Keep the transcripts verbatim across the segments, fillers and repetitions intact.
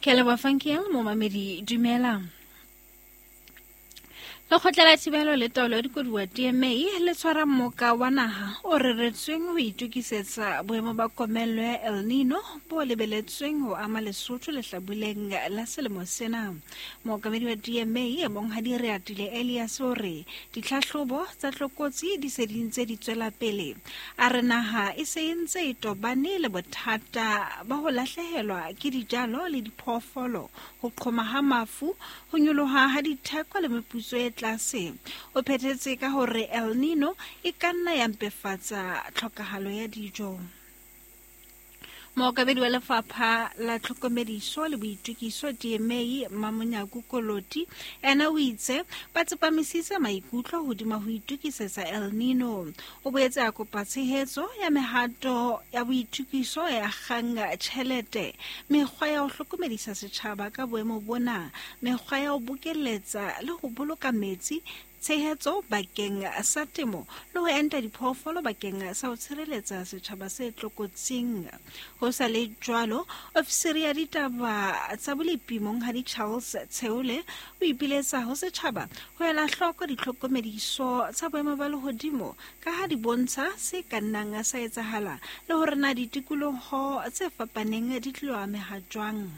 Ke a leboha Funky momamedi, dumela. Lekgotla la Thibelo le Taolo ya Dikoduwa D M A le tshwara mmoka wa naha o reretsweng ho itokisetsa boemo ba komello ya El Nino bo lebeletsweng ho ama Lesotho lehlabuleng la selemo sena. Mookamedi wa D M A Monghadi Reatile Elias o re ditlhahlobo tsa tlokotsi di se di ntse di tswela pele. A re naha e se e ntse e tobane le bothata ba ho lahlehelwa ke dijalo le diphoofolo, ho qhoma ha mafu, ho nyoloha ha ditheko le meputso e tlase. O phethetse ka hore El Nino e ka nna ya mpefatsa tlhokahalo ya dijo. Mookamedi wa Lefapha la Tlhokomediso le Boitokiso D M A Mamonyaku Koloti ena o itse ba tsepamisitse maikutlo hodima ho itokisetsa El Nino. O boetse a kopa tshehetso ya mehato ya boitokiso e akgang tjhelete, mekgwa ya ho hlokomedisa setjhaba ka boemo bona, mekgwa ya ho bokelletsa le ho boloka metsi, tshehetso bakeng sa temo le ho enta diphoofolo bakeng sa ho tshireletsa setjhaba se tlokotsing. Ho sa le jwalo, ofisiri ya ditaba tsa bolepi Monghadi Charles Tsheole o ipiletsa ho setjhaba ho ela hloko ditlhokomediso tsa boemo ba lehodimo ka ha di bontsha se ka nnang sa etsahala le hore na ditikoloho tse fapaneng di tlilo ameha jwang.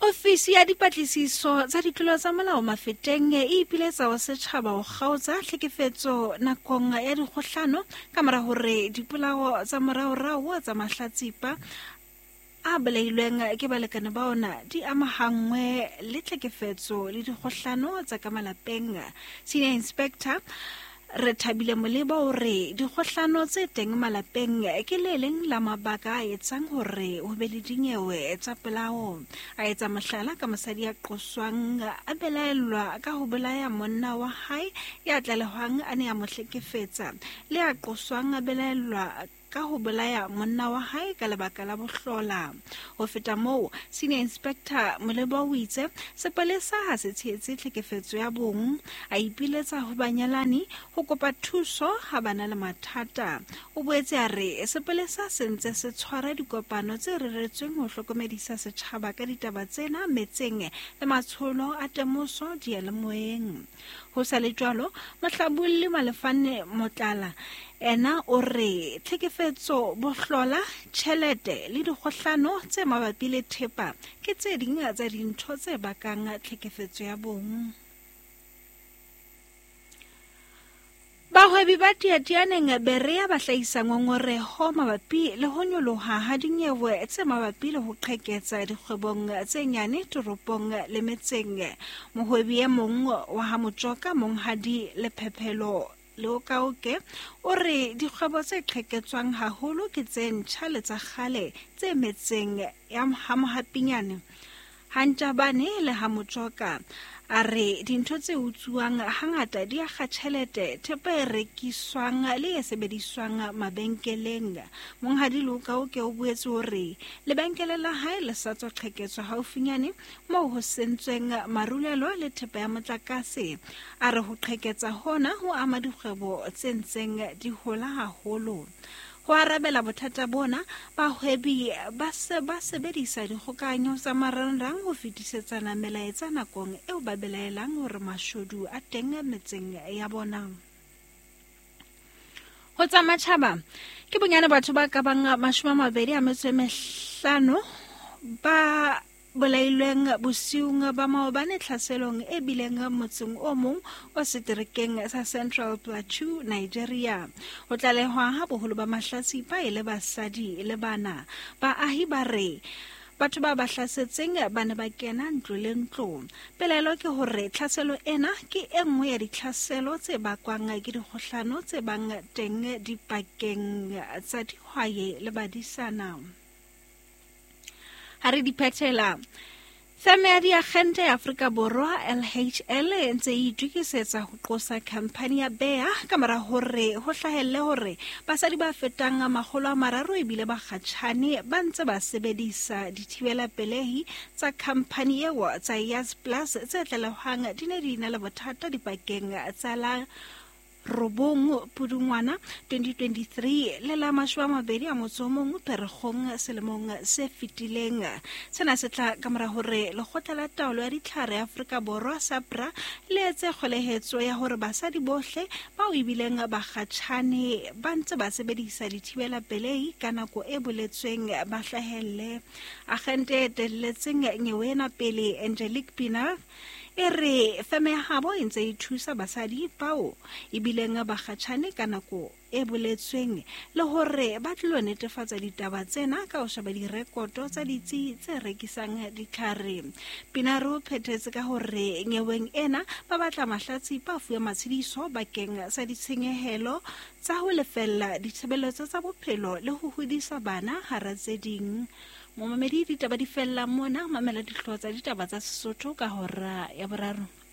Ofisi ya dipatlisiso tsa ditlolo tsa molao Mafeteng e ipiletsa ho setjhaba ho kgaotsa tlhekefetso nakong ya dikgohlano ka mora hore dipolao tsa moraorao tsa mahlatsipa a bolailweng ke balekane ba ona di amahanngwe le tlhekefetso le dikgohlano tsa ka malapeng. Senior Inspector Rethabile Moleba o re dikgohlano tse teng malapeng ke le leng la mabaka a etsang hore ho be le dinyewe tsa polao. A etsa mohlala ka mosadi ya qoswang a belaellwa ka ho bolaya monna wa hae ya tlalehwang a ne a mo hlekefetsa, le a qoswang a belaellwa ka ho bolaya monna wa hae ka lebaka la bohlola. Ho feta moo, Senior Inspector Moleba o itse sepolesa ha se tshehetse tlhekefetso ya bong. A ipiletsa ho banyalani ho kopa thuso ha ba na le mathata. O boetse a re sepolesa se ntse se tshwara dikopano tse reretsweng ho hlokomedisa setjhaba ka ditaba tsena metseng le matsholo a temoso diyalemoyeng. Ho sa le jwalo, mohlabolli Malefane Motlala ena o re tlhekefetso, bohlola, tjhelete le dikgohlano tse mabapi le thepa ke tse ding tsa dintho tse bakang tlhekefetso ya bong. Bahwebi ba Teatianeng Berea ba hlahisa ngongoreho mabapi le ho nyoloha ha dinyewe tse mabapi le ho qheketsa dikgwebong tse nyane toropong le metseng. Mohwebi e mong wa ha Motjoka, Monghadi Lephephelo Leokaoke, o re dikgwebo tse qheketswang haholo ke tse ntjha le tsa kgale tse metseng ya ha Mohapinyane, ha Ntjabane le ha Motjoka. A re dintho tse utsuwang hangata di akga tjhelete, thepa e rekiswang le e sebediswang mabenkeleng. Monghadi Leokaoke o boetse hore lebenkele la hae le sa tswa qheketswa haufinyane moo ho sentsweng marulelo le thepa ya motlakase. A re ho qheketsa hona ho ama dikgwebo tse ntseng di hola haholo. Ho arabela bothata bona, bahwebi ba se ba sebedisa dikgokahanyo tsa marangrang ho fetisetsana melaetsa nakong eo ba belaelang hore mashodu a teng metseng ya bona. Ho tsa matjhaba, ke bonyane batho ba ka bang mashome a mabedi a metso e mehlano ba bolailweng bosiung ba maobane tlhaselong e bileng motseng o mong o seterekeng sa Central Plateau, Nigeria. Ho tlalehwa ha boholo ba mahlatsipa e le basadi le bana. Baahi ba re batho ba ba hlasetseng ba ne ba kena ntlo le ntlo. Pelaelo ke hore tlhaselo ena ke e nngwe ya ditlhaselo tse bakwang ke dikgohlano tse bang teng dipakeng tsa dihwai le badisana. Ha re di phethela, feme ya diakgente ya Afrika Borwa L H L e ntse e itokisetsa ho qosa khamphani ya Bayer ka mora hore ho hlahelle hore basadi ba fetang makgolo a mararo ebile ba kgatjhane ba ntse ba sebedisa dithibela pelehi tsa khamphani eo tsa Yas Plus tse tlalehwang di ne di na le bothata dipakeng tsa la robong Pudungwana twenty twenty-three le la mashome a mabedi a motso o mong Pherekgong selemong se fetileng. Sena se tla ka mora hore lekgotla la taolo ya ditlhare Afrika Borwa SAPRA le etse kgolehetso ya hore basadi bohle bao ebileng bakgatjhane ba ntse ba sebedisa dithibela pelehi ka nako e boletsweng ba hlahelle. Agente e etelletseng nyewe ena pele Angelique Pienaar e re feme ya habo e ntse e thusa basadi bao ebileng bakgatjhane ka nako e boletsweng le hore ba tlilo netefatsa ditaba tsena ka ho sheba direkoto tsa ditsi tse rekisang ditlhare. Pienaar o phethetse ka hore nyeweng ena ba batla mahlatsipa a fuwe matshediso bakeng sa ditshenyehelo tsa ho lefella ditshebeletso tsa bophelo le ho hodisa bana hara tse ding. Momamedi, ditaba di fella mona, mamela dihlooho tsa ditaba tsa Sesotho ka hora ya boraro.